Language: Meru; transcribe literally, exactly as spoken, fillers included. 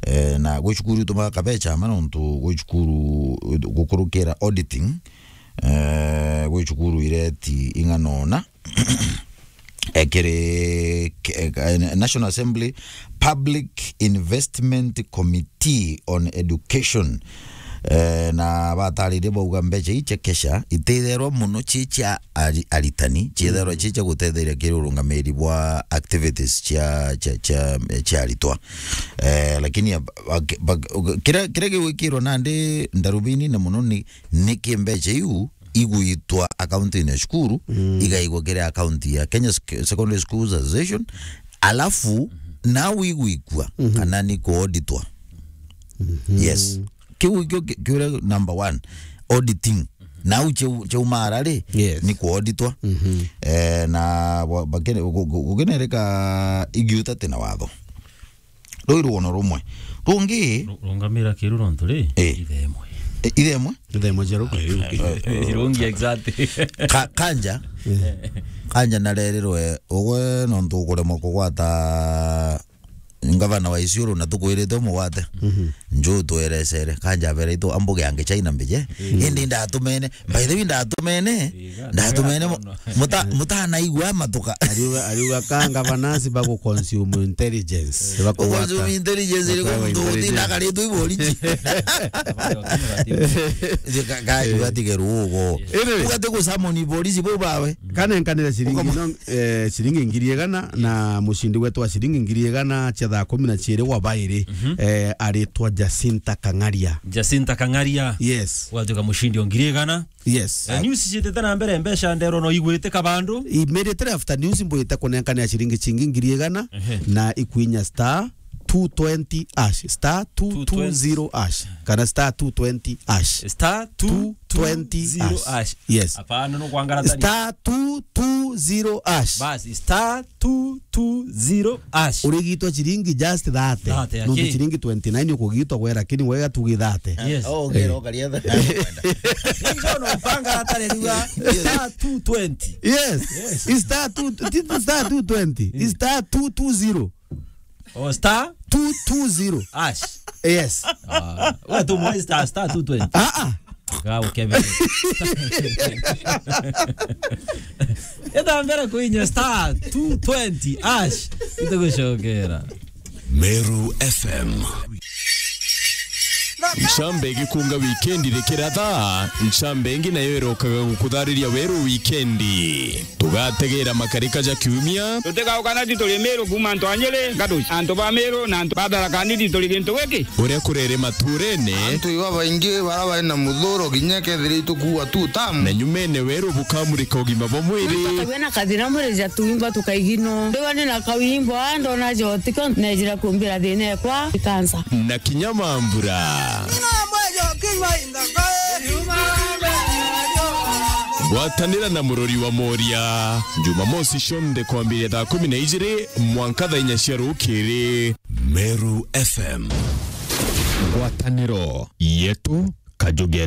Eh, na gwi cukuru itumaga kabecha ma nontu gwi cukuru gukurukira auditing, eh, gwi cukuru ireti ing'ana ona, eh, kiri, ke-, eh, National Assembly Public Investment Committee on Education. Eh, na bataririe bauga mbecha ii cia kesha ititherwa mono ci cia ari-, aritani, ciitherwa ci cia gutetheria kiri urungamiri bwa activities cia, cia, cia, cia aritwa. Eh, lakini ab-, bak-, bak-, kiria, kiria gigwikirwa nandi ndarubini na mono ni, niki mbecha iu igwitwa akaunti-ini ya cukuru, igaigwa kiri akaunti ya Kenya Sec-, Secondary Schools Association, alafu nau igwikua kana ni kuauditwa. Yes. Kiu ikio ki-, kiuria number one, auditing. Nau cheu-, cheumara ri, Yes. ni kuauditwa. Eh, na wa-, bakene-, gu-, gu-, gukinereka igiuta ti na watho. Ruu i rugono rumwe. Rungi Ru-, rungamira kiru nontu ri, Eh. ithe imwe. Eh, ithe imwe? Ithe imwe cia ruku. Irungi exactly. Ka-, kanja. Kanja narerirwe ugwe nontu ukuremwa kugwata ngavana wa Isiolo na tukwirite umugwate. Nju twerecere. Kanja abera itu ambuge ange China mbije. Indi ndatumene. By the way, ndatumene. Ndatumene mu-, muta-, mutanaigua matuka. Ariuga, ariuga ka ngavana si bagu consume intelligence. Baku Uconsume intelligence iri kwa muntu utinda akaritwe i boriji. Ka-, ka-, ugatige rugo. Iri. Ugate gusamoni boriji bo bawe. Kanenkanire ciringi Ukama- no, eh, ciringi ngiri igana na mucindi wetu wa ciringi ngiri igana cia thaa kumi na ciiri wa bairi, eh, aritwa Jacinta Kang'aria. Jacinta Kang'aria. Yes. Watuika mucindi o ngiri igana. Yes. Eh, news ciitite na mbere, mbeca ndero no igwite kabandu. Immediately after news mbwite kunenkania ciringi cingi ngiri igana Ehe. na ikwinya star two twenty hash, star two two zero hash, kana star two twenty hash. Star two twenty hash. Yes. Hapana, no kuangaratania. Star two two zero hash. Basi, star two two zero hash. Urigitwa ciringi just thirty. Thirty, nontu aki- ciringi twenty nine ukugitwa gwe, lakini wega tugi thirty. Yes. Oh, okay, Eh. okay, yeah. Ninjo no panga atare riwa. Star two twenty. Yes. Yes. It's star two, it's star two twenty. It's star two two zero. Oh, star? Two two zero. Hash. Yes. Ah, we tu mwe star, star two twenty. Ah, ah. Ga ukebe. Enda mbere kuinya star two twenty hash. Itugucokera. Meru F M. Ncambe igikunga wikendi rikiratha, ncambe ingi nayo irokaga gukuthariria weru wikendi. Tugategera makarika ja kiumia. Tutigauka nati turi Meru kuuma antu a Nyeri, Ngatuci, antu ba Meru na antu ba Tharaka Nithi turi gintu giki. Uria kurere maturene. Antu iba baingi bara bari na muthuro kinya kethira itukuua tu tamu. Na nyumene weru bukamurika ugima bwa mwiri. Tukagua na kathina mwiri ja tuimba tukaigino. Ndiwa ni na kawimbo, ndona jotiko, nejira kumbira thina ekwa, ikansa. Na kinya mambura. Gwatanira na murori wa Moria, Jumamosi cionthe kwambiria thaa kumi na ijiri mwanka thaa inya cia rukiri. Meru F M. Ngwataniro yetu, kaju getu.